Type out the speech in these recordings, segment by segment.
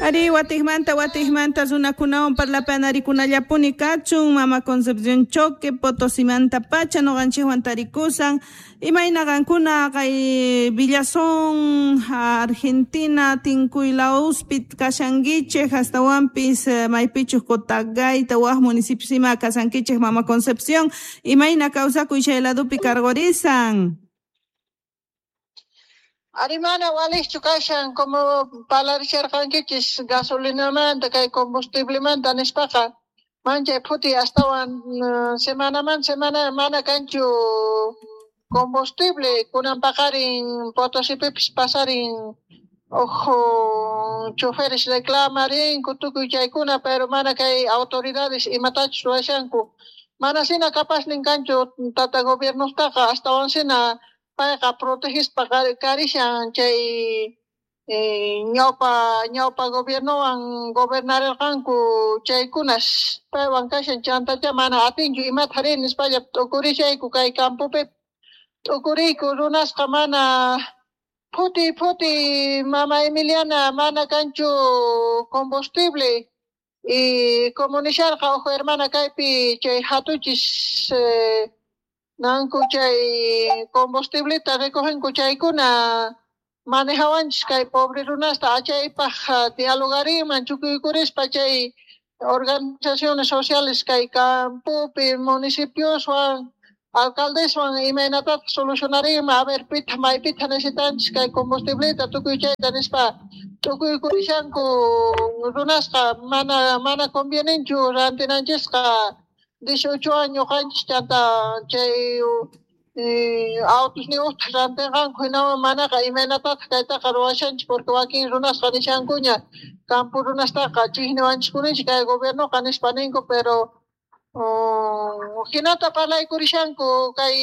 Ari, watikmanta watikmanta runakunawan parlapanarikunallapuni kachun. Mama Concepción Choque, Potosimanta pacha noqanchikwan tarikusan. Imayna qankuna kay Villazón, Argentina, Tinkuylawspi kashankichik, astawanpis maypichus Cotagaita, wak municipios ima kasankichik, Mama Concepción. Imayna kawsakuy chay ladupi karqurisan? Arimana waliqchu kashan, como parlarisharqankichis gasolinamanta kay combustiblemanta nispaqa, manchay phuti astawan semanaman semana mana kanchu combustible. Kunan paqarin Potosipipis pasarin ojo choferes reclamarinku tukuy chaykuna, pero mana kay autoridades imatachus ruwashanku, mana sina capaznin kanchu tata gobiernostaqa, astawan sina payqa protegispa karishan chay ñawpa ñawpa gobiernowan gobernarirqanku chaykunas paywan kashan, chantacha mana atinchu imata rin nispalla t'ukurishayku. Kay campopi t'ukuriyku runasqa mana phuti phuti, Mama Emiliana, mana kanchu combustible. Y como nisharqa uj hermana kaypi chay hatuchis nanku chay combustibleta recogenku, chaykuna manejawanchis kay pobre runasta. Achaypaq dialogarinman chukuykurispa chay organizaciones sociales kay campopi municipioswan alcaldeswan, imaynatataq solucionarinman, a ver pitaq maypitaq necesitanchis kay combustibleta tukuy chayta nispa tukuykurishanku runasqa. Mana mana convienenchu rantinanchisqa 18 años qanchis, chanta chay autos rantinqanku, hinawan manaqa imaynatataq kaytaqa ruwashanchis, porque wakin runasqa nishankuña campo runastaqa chikniwanchiskunichik kay gobiernoqa nispa ninku, pero hinata parlaykurishanku kay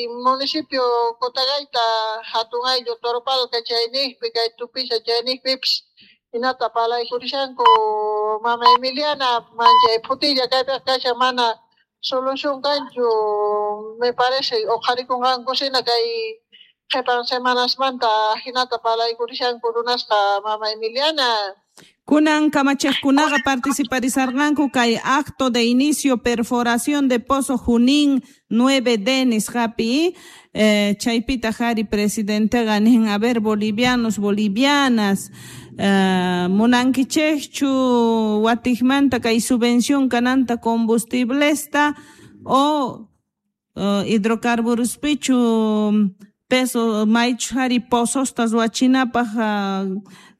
municipio Cotagaita, hatun ayllu Toropalca chayniqpi, kay Tupiza chayniqpipis hinata parlaykurishanku, Mama Emiliana. Manchay phutilla kaypiqa kashan, mana solución kanchu. Me parece uqharikunqanku sina kay qhipan semanasmanta, hinata parlaykurishanku runasqa, Mama Emiliana. Kunan kamachiqkunaqa participarisarqanku kay acto de inicio perforación de pozo Junín 9D nisqapi. Chaypitaq ari presidenteqa nin: "A ver, bolivianos, bolivianas, munankichikchu watikmanta kay subvención kananta combustiblesta o hidrocarburospichu peso maychu ari pozosta ruwachinapaq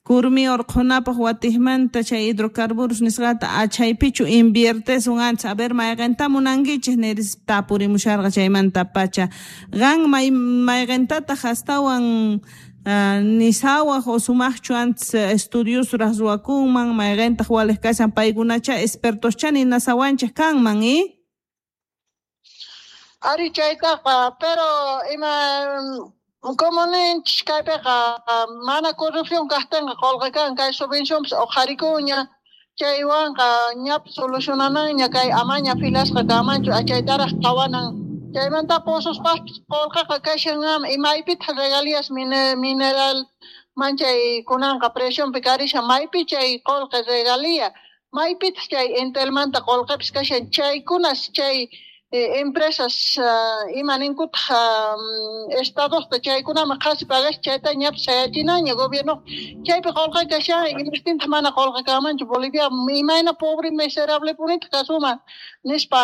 kurmi urqhunapaq watikmanta chay hidrocarburos nisqata achaypichu inviertesun ancha? A ver, mayqinta munankichik?" niris tapurimusharqa chaymanta pacha. Qan may mayqintataq astawan nisawaq o sumaqchu antes estudiosraq ruwakunman, mayqintaq waliq kashan? Paykunacha expertoscha ninasawanchik kanman i. Ari, chaytaqa, pero ima como ninchis kaypiqa mana corrupción kaqtinqa qullqi kan, kay subvencionpis uqharikuña, chaywanqa ñapis solucionananña kay amaña filasqa kanmanchu, achaytaraq qhawanan. Chaymanta pozospaqpis qullqiqa kashan, imaypitaq regalías mineral manchay kunanqa presionpi karishan, maypi chay qullqi regalía, maypitaq chay Entelmanta qullqipis kashan, chaykunas chay empresas ima ninkutaq estadosta chaykunaman qhasi pagash, chayta ñapis sayachinaña gobierno. Chaypi qullqi kashan, imaptintaq mana qullqi kanmanchu Bolivia? Imayna pobre miserable punitaq kasuman nispa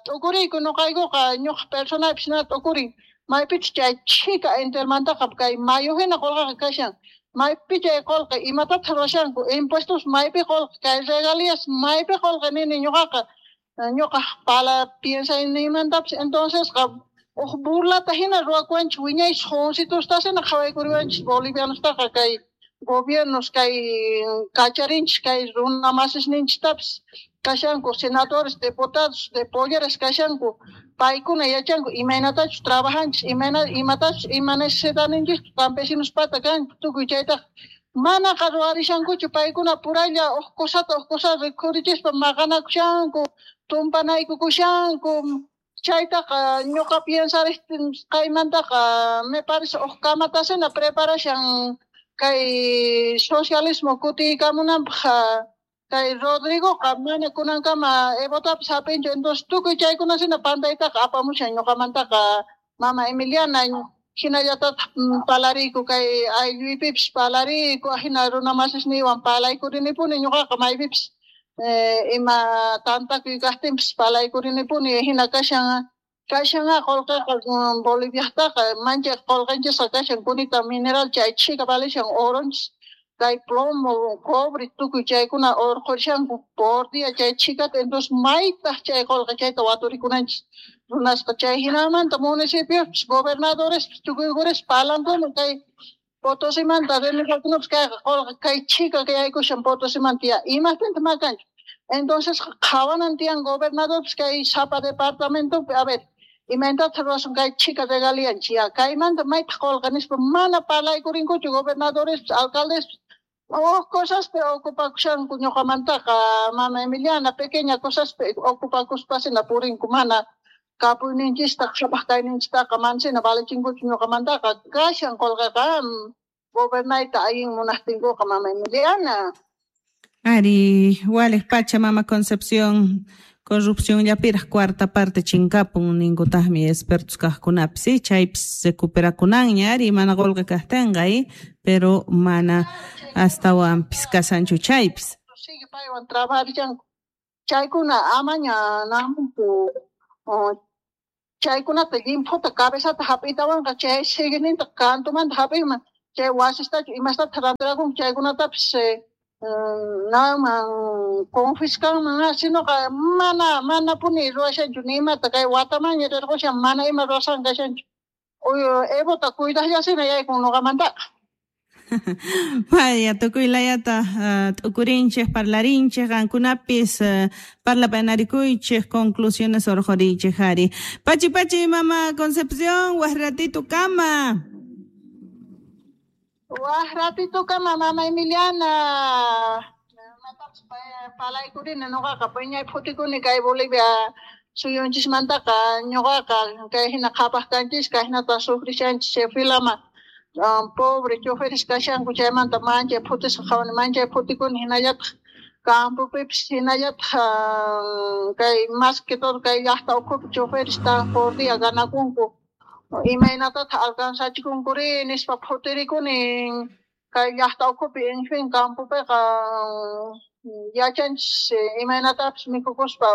t'ukuriyku ñuqaykuqa, ñuqa personapis na t'ukurin, maypichus chay chhika Entelmantaqa kay mayu hina qullqiqa kashan, maypi chay qullqi, imatataq ruwashanku, impuestos maypi qullqi, kay regalías maypi qullqi nini ñuqaqa, ñuqa pala piensayniymantapas. Entonces uj burlata hina ruwakuwanchik, wiñay jovencitosta hina qhawaykuriwanchik bolivianostaqa kay gobiernos, kay kacharinchik kay runa masisninchiktapis kashanku, senadores, diputados de polleras kashanku, paykuna yachanku imaynatachus trabajanchik, imayna imatachus ima necesitaninchikta campesinospata kanku tukuy, chaytaqa manaqa ruwarishankuchu. Paykuna puralla uj cosata uj cosata rikhurichispa maqanakushanku, tumpanaykukushanku. Chaytaqa ñuqa piensarisqaymantaqa me parece uj kamatasina preparashan. Kay socialismo kutiykamunanpaq kay Rodrigoqa mana kunankama Evotapis hap'inchu. Entonces tukuy chaykunasina pantaytaqa apamushan ñuqamantaqa mama Emiliana. Hinallatataq palariyku kay aylluypipis palariyku, hina runa masisniywan palaykurinipuni ñuqaqa maypipis ima tantakuy kaqtinpis palaykurinipuni. Hina kashan kashan qullqiqa Boliviajtaqa manchay qullqinchisqa kashan kunita mineral chay chhika valishan oronchis kay plomo cobre tukuy chaykuna urqurishanku por día chay chhikata. Entonces maytaq chay qullqi chayta waturikunanchis runasqa chay hinamanta municipiospis gobernadorespis tukuykuris palankuna kay Potosimanta renegakunapis kayqa qullqi kay chhika yaykushan Potosimanta ya imapintaq makanchu. Entonces qhawanan tiyan gobernadorpis kay sapa departamentopi a ver imaynatataq ruwasun kay chhika regalianchis ya kaymanta maytaq qullqi nispa mana parlaykurinkuchu gobernadorespis alcaldespis huk cosaspi ocupakushanku ñuqamantaqa mama Emiliana pequeña cosaspi ocupakuspasina purinku mana kapuyninchista qhapaq kayninchistaqa manasina valichinkuchu ñuqamantaqa kashan qullqiqa gobernayta allin munaqtinkuqa mama Emiliana. Ari, waliq pacha mama Concepción, corrupción llapiraq cuarta parte chinkapun ninkutaqmi expertos kaqkunapis, ¿sí? Chaypis recuperakunanña ari mana qullqi kaqtinqa, pero mana astawanpis kashanchu chaypis. Sigue paywan trabajarishanku chaykuna amaña namunku chaykunata llimphuta cabezata hap'itawanqa chay siguininta kantumanta hap'inman chay wasistachu imastata rantirakunku chaykunatapis naman confiscanman sinoqa mana manapuni ruwashanchu ni imata kay watamanña rirqushan mana ima ruwasqan kashanchu Evota cuidaqllasina yaykun ñuqamantaqa. Vaya, tukuy layata t'ukurinchik, parlarinchik, qankunapis parlapanarikuychik, conclusiones urqhuriychik ari. Pachi pachi mama Concepción, waq ratito kama. Waq ratito kama mama Emiliana. Imatapis palaykurini ñuqaqa piñay phutikuni kay Bolivia suyunchismantaqa ñuqaqa kay hina qhapaq kanchis kay hinata sufrishanchis chay filama pobre choferes kashanku chaymanta manchay phutisqa qhawani manchay phutikuni hinallataq campopipis hinallataq kay más que todo kay llaqta ukhupi choferes tan por día ganakunku imaynatataq alcanzachikunkuri nispa phutirikuni kay llaqta ukhupi en fin campopiqa yachanchis imaynatapis mikhukuspa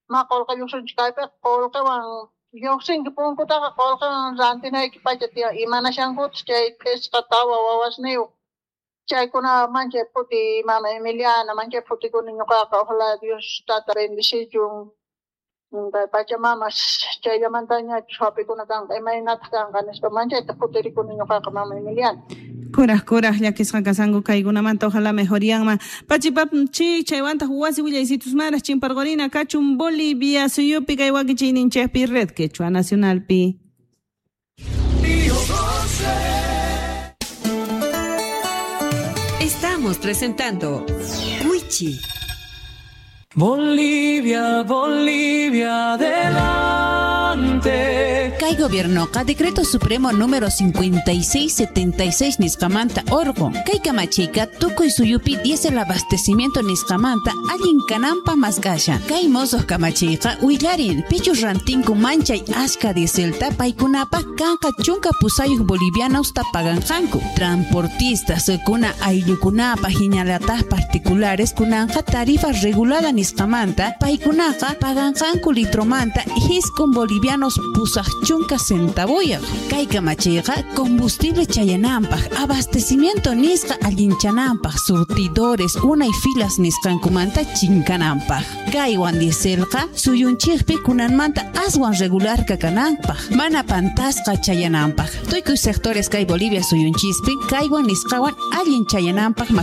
ma qullqi lluqsinchik kaypiqa qullqiwan lluqsinki punkutaqa qullqiwan rantinayki pacha tiyan imanashankutaq chay phisqa tawa wawasniyuq chaykuna manchay phuti mama Emiliana manchay phutikuni ñuqaqa ojalá Dios tata bendicichun kay Pachamamas chayllamantañachu hap'ikuna kanqa imaynataq kanqa nispa manchayta phutirikuni ñuqaqa mama Emiliana. Kuraj kuraj llakisqa kasanku kaykunamanta ojalá mejorianman. Pachipapchi chaywantaq wasi willaysitusmaraq chimparqurina kachun Bolivia suyupi kay wakichiyninchikpi Red Quechua Nacionalpi. Estamos presentando Wichi. Bolivia, Bolivia, adelante. Kay gobiernoqa decreto supremo número 5676 nisqamanta orqun. Kay kamachiyqa tukuy suyupi diésel abastecimiento nisqamanta allin kananpaq mask'ashan. Kay mosoq kamachiyqa willarin pichus rantinku manchay ashka dieselta paykunapaq kanqa 18 bolivianos paganqanku. Transportistas kuna ayllukunapaq hinallataq particulares kunanqa tarifa regulada nisqamanta paykunaqa paganqanku litromanta 9 bolivianos 80 centavoyaq. Kay kamachiyqa combustible chayananpaq, abastecimiento nisqa allinchananpaq, surtidores unay filas nisqankumanta chinkananpaq. Kaywan dieselqa suyunchikpi kunanmanta aswan regular kananpaq, mana pantasqa chayananpaq. Tukuy sectores kay Bolivia suyunchispi kaywan nisqawan allin chayananpaq.